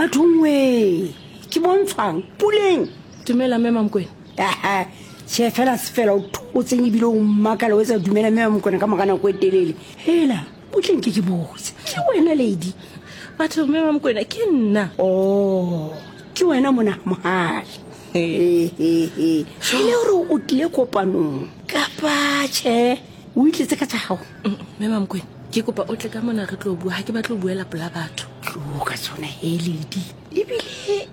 Bathong we, ke bontshwang puleng. Dumela mme Mamokwena. Aha, tjhe fela se fela o thotseng ebile o mmakala o etsa dumela mme Mamokwena ka mora nako e telele. Hela, butleng ke ke botse. Ke wena lady? Batho mme Mamokwena ke nna. Oh, ke wena mona mohale. E le gore o tlile kopanong kapa tjhe o itletse ka tsa gago? Mme Mamokwena, ke kopa o tle ka mona re tlo bua, ha ke batle ho buela pola batho. Tlo ka tsona he lady. Ebile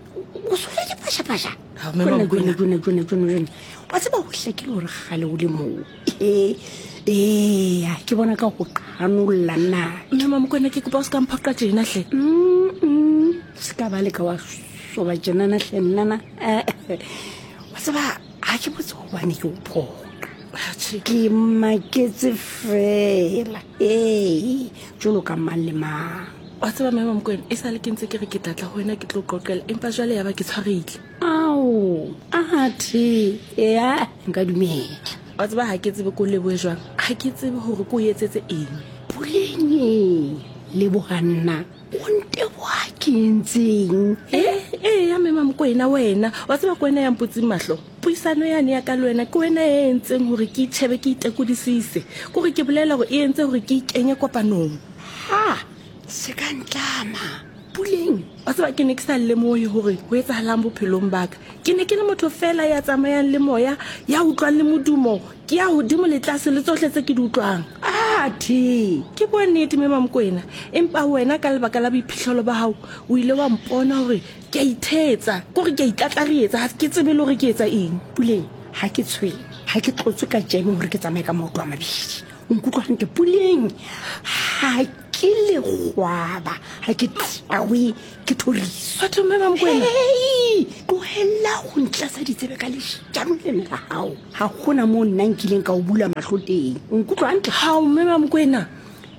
o sole dipashapasha. Ha, mme Mamokwena. Jona, jona, jona, jona. Wa tseba ho hlakile hore kgale o le moo. Ee, ee, ke bona ka go qhanolla nna. Mme Mamokwena, ke kopa o se ka mphoqa tjena hle. Se ka ba leka wa soba tjenana hle nnana. Wa tseba ga ke botse gobane ke o phoqa. Atjhe. Ke maketse fela. Ee, jwalo ka mang le mang. Wa tseba mme Mamokwena, e sale ke ntse ke re ke tla tla ho wena ke tlo qoqela, empa jwale ya ba ke tshwarehile. Ao, athe, ea, nka dumela. Wa tseba ha ke tsebe ko lebohe jwang, ha ke tsebe hore ko etsetse eng. Puleng e, leboha nna, o nteboha ke entseng? Eh, eh, ya mme Mamokwena wena, wa tseba ke wena ya mputseng mahlo. Puisano yane ya ka le wena ke wena e entseng hore ke itjhebe ke itekodisise. Ke hore ke bolela hore e entse hore ke ikenye kopanong. Ha, se ka ntlama, Puleng. Wa tseba ke ne ke sa lemohe hore ho etsahalang bophelong ba ka. Ke ne ke le motho feela ya tsamayang le moya, ya utlwang le modumo, ke ya hodimo le tlase le tsohle tse ke di utlwang. Athe! Ke bua nnete mme Mamokwena, empa wena ka lebaka la boiphihlelo ba hao o ile wa mpona hore ke a ithetsa, ke hore ke a itlatlarietsa, ha ke tsebe le hore ke etsa eng. Puleng, ha ke tshwenye, ha ke tlotswe ka jeme hore ke tsamaye ka maoto a mabedi. O nkutlwa hantle Puleng? Ha ke lekgwaba, ha ke tlawe ke thoriso. Batho mme Mamokwena. Hei, tlohella go ntlatsa ditsebe ka leshano lena la gago. Ga gona moo nna nkileng ka o bula mahlo teng. O nkutlwa hantle? Hao mme Mamokwena.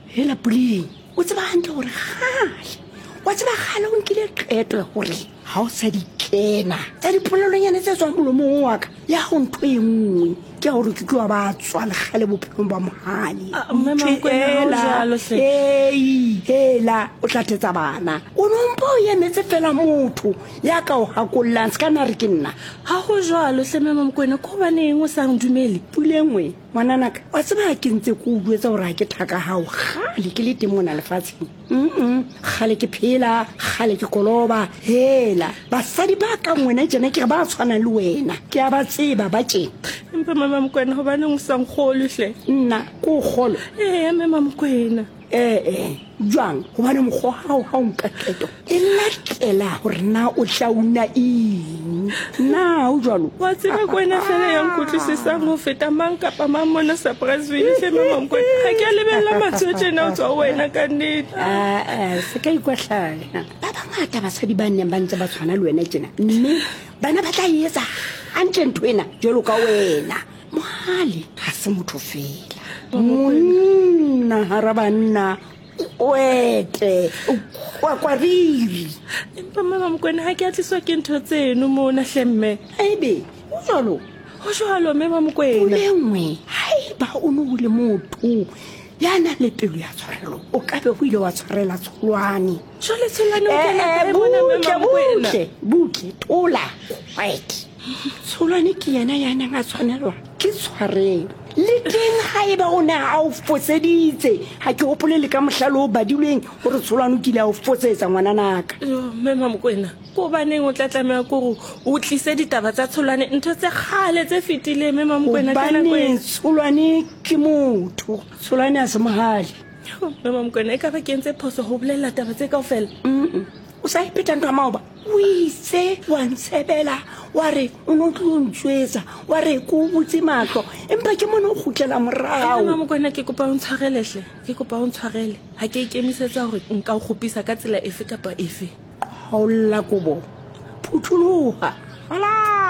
Hela Puleng, o tseba hantle gore gale, wa tseba gale o nkile qeto ya gore ga o sa di kena tsa dipolelonyane tse tswang molomong wa ka ya go ntho e nngwe ke ya gore ke tloa ba tswa legale bophelong ba mogale. Ah, mme Mamokwena, ha o jwalo hle. Ei, hela o tla thetsa bana. O no mpa o emetse fela motho ya ka o gakollang, se ka na re ke nna. Ha go jwalo hle mme Mamokwena, ke hobaneng o sa ndumele? Pulengwe, ngwananaka, wa tseba ke ntse ke o jwetsa gore ga ke thaka gago gale ke le teng mona lefatsheng. Mm gale ke phela, gale ke koloba. Hela, basadi ba kang wena tjena ke re ba tshwanang le wena, ke a ba tseba ba tjena. Empa mme Mamokwena, hobaneng o sa nkgolwe hle? Nna ke o kgolwe? Ee, mme Mamokwena. Ee, jwang? Gobane mokgwa wa gago ga o nka qeto e latela gore na o tla una eng. Na o jwalo? Wa tseba ke wena fela ya nkutlwisisang ho feta mang kapa mang mona Surpriseville hle mme Mamokwena. Ga ke a lebella mantswe a tjena ho tswa ho wena ka nnete. Aa, se ka ikwahlaya. Ba bangata basadi ba neng ba ntse ba tshwana le wena tjena, mme bana ba tla e etsa hantle ntho ena jwalo ka wena. Mohale ga se motho fela, monna gara banna, kwete kwakwariri. Empa mme Mamokwena, ga ke a tliswa ke ntho tseno mona hle mme. Ebe o jwalo? Ho jwalo mme Mamokwena. Pule nngwe, haeba o ne o le motho ya nang le pelo ya tshwarelo, o ka be o ile wa tshwarela Tsholwane. Jwale Tsholwane o kena kae mona mme Butle, Mamokwena? butle, butle, thola, quiet. Tsholwane ke yena ya neng a tshwanelwa ke tshwarelo. Le teng haeba o ne a o foseditse, ga ke gopole le ka mohla le o badilweng gore Tsholwane o kile a o fosetsa ngwananaka. Yo, mme Mamokwena, ke gobaneng o tla tlameha ke gore o tlise ditaba tsa Tsholwane, ntho tse kgale tse fetileng, mme Mamokwena, ka nako Gobane ena? Tsholwane ke motho, Tsholwane a se mogale. Yo, mme Mamokwena, e ka ba ke entse phoso ho bolelela taba tse kaofela? O sa iphetha ntho ya maoba. O itse wa ntshebela, wa re o ne o tlo ntswetsa, wa re ke o butse mahlo, empa ke mone o kgutlela morao. Mme Mamokwena, ke kopa o ntshwarele hle, ke kopa o ntshwarele. Ha ke ikemisetsa hore nka o kgopisa ka tsela efe kapa efe. Qhaolla kobo, phutholoha. Hala!